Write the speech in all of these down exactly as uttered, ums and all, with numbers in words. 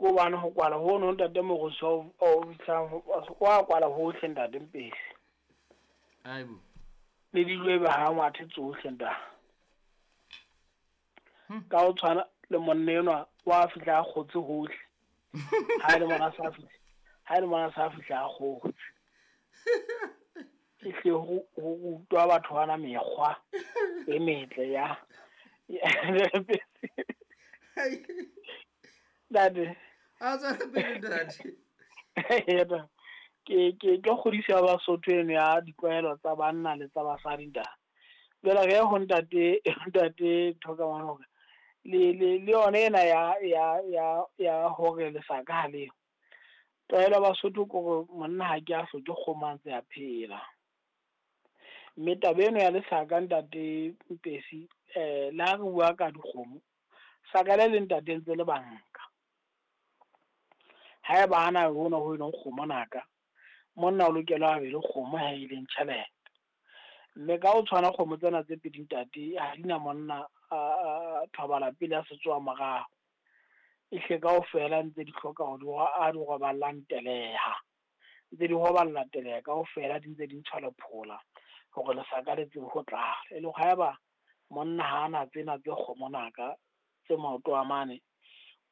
Ko bana ho kwala hono ntate Morusu o fihlang wa kwala hohle ntate Mpesi. Aibo. Le dilwebe ha ngwathe tsohle ntate. Ka o tshwana le monna enwa wa fihla a kgotse hohle. Ha ile mona sa fihla. Ha ile mona sa fihla a kgotse. Ehle ho rutwa batho bana mekgwa e metle ya. Ntate. A tswela pele ntate. Ke ke ke kgodiso ya Basotho eno ya ditlwaelo tsa banna le tsa basadi ntate. Jwale re ho ntate ntate Thoka hore le le le yona ena ya ya ya ya hore lesaka ha leo. Tlwaelo ya Basotho ke hore monna ha ke a hloke kgomo a ntse a phela. Mme taba eno ya lesaka ntate Mpesi eh le ha re bua ka dikgomo saka le le ntate ntse le banka. Haeba ana hona ho eleng kgomo naka monna o lokela a be le kgomo ha e leng tjhelete. Mme ka ho tshwana kgomo tsena tse pedi ntate ha di na monna a thobala pele a se tsoa morao. Ehle kaofela ntse di hloka hore di a di roballang teleha. Ntse di roballa teleha kaofela di ntse di ntshwa lephola hore lesaka le tsebe ho tlala. E le haeba monna ha ana tsena tse kgomo naka tse maoto a mane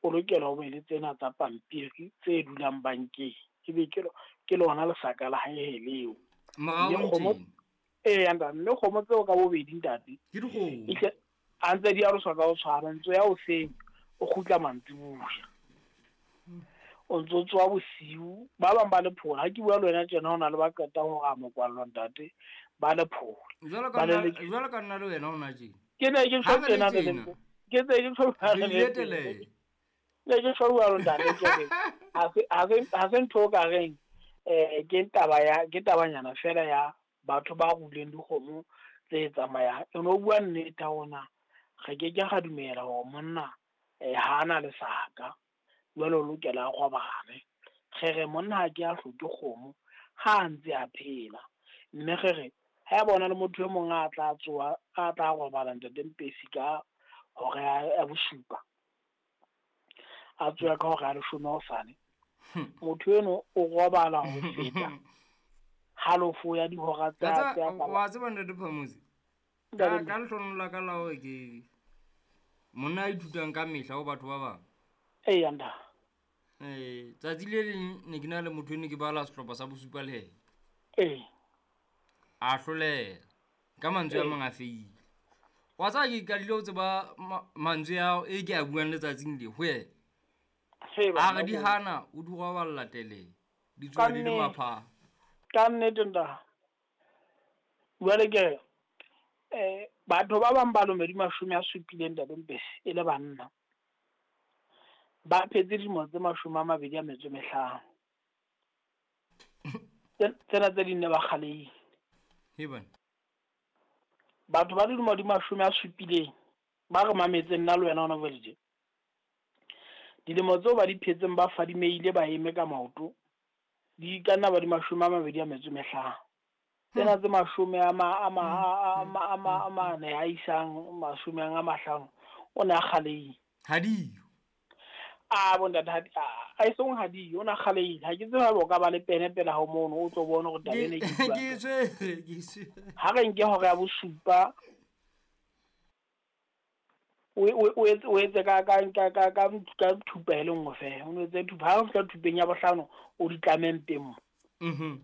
o lokela ho be le tsena tsa pampiri tse dulang bankeng. Ebe ke ke lona lesaka la hae leo. Morao ee ntate, mme kgomo tseo ka bobedi ntate ke dikgomo. Ehle a ntse di aroswa ka ho tshwana, ntso ya hoseng o kgutla mantsiboya. O ntso tsoha bosiu, ba bang ba lephola. Ha ke bua le wena tjena hona le ba qetang hore a mokwallo ntate ba lephola. Jwalo ka nna jwalo ka nna le wena hona tje. Ke ne ke tjho tjena le ke tse ke tjho le ne ke tjho jwalo ntate ke re ha se ha se ha se ntho ka reng eh ke taba ya ke tabanyana fela ya batho ba ruleng dikgomo tse tsamayang. E no bua nnete hona re ke ke ga dumela hore monna eh ha ana lesaka jwale o lokela a robale. Re re monna ha ke a hloke kgomo ha a ntse a phela. Mme re re ha bona le motho e mong a tla tsoa a tla robala ntate Mpesi ka hora ya bosupa a tsoa ka hora ya leshome hosane motho eno o robala ho feta halofo ya dihora tsa tsa wa tseba ntate Phamusi ka ka lehlono la ka la hore ke monna a ithutang ka mehla ho batho ba bang. Ee nda. Eh tsatsi le leng ne ke na le motho ene ke bala sehlopha sa bosupa le yena. Ee. A hloleha ka mantswe a mang a feile. Wa tseba ke qadile ho tseba mantswe ao e ke a buang letsatsing le ho yena. A re di hana o di roballa tele di tswa di le mapha. Ka nnete nda. Jwale ke eh batho ba bang ba lome di mashome a supileng ntate Mpesi e le banna. Ba phetse dilemo tse mashome a mabedi a metso e mehlano. Tsena tse ding ne ba kgalehile. He bana. Batho ba dilemo di mashome a supileng ba re mametse nna le wena hona jwale tje. Dilemo tseo ba di phetseng ba fadimeile ba eme ka maoto di ka nna ba di mashome a mabedi a metso e mehlano. Tsena tse mashome a ma a ma a ma a mane a isang mashome a mahlano o ne a kgalehile. Ha diyo. A bo ntate ha a isong ha diyo o na kgalehile. Ha ke tsebe haeba o ka ba le pene pela ho mono o tlo bona hore taba ena ke bua. Ke tshwere ke tshwere. Ha re nke hora ya bosupa o o etse o etse ka ka ka ka ka ka thupa e le nngwe fela. O etse thupa ha o fihla thupeng ya bohlano o di tlame mpeng mo. Mhm.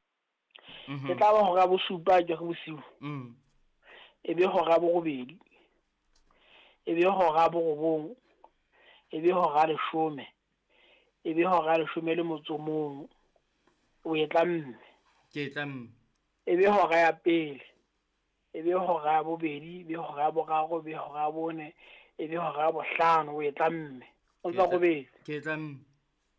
E tla ba hora ya bosupa ke re bosiu. Mm. E be hora ya borobedi. E be hora ya borobong. E be hora ya leshome. E be hora ya leshome le motso mong. O e tlamme. Ke e tlamme. E be hora ya pele. E be hora ya bobedi, e be hora ya boraro, e be hora ya bone, e be hora ya bohlano o e tlamme. O ntsa robedi. Ke e tlamme.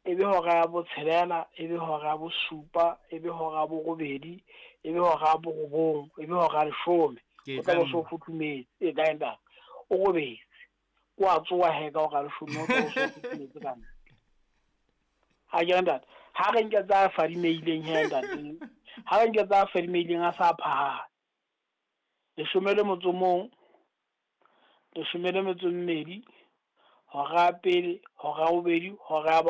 E be hora ya botshelela, e be hora ya bosupa, e be hora ya borobedi, e be hora ya borobong, e be hora ya leshome. O tla bo so futhumetse, e kae ntate? O robetse. O a tsoha he ka hora ya leshome o tla bo so futhumetse ka ntle. Ha ke ntate, ha re nke tsa fadimeileng he ntate. Ha re nke tsa fadimeileng a sa phahame. Leshome le motso mong, leshome le metso e mmedi, hora ya pele, hora ya bobedi, hora ya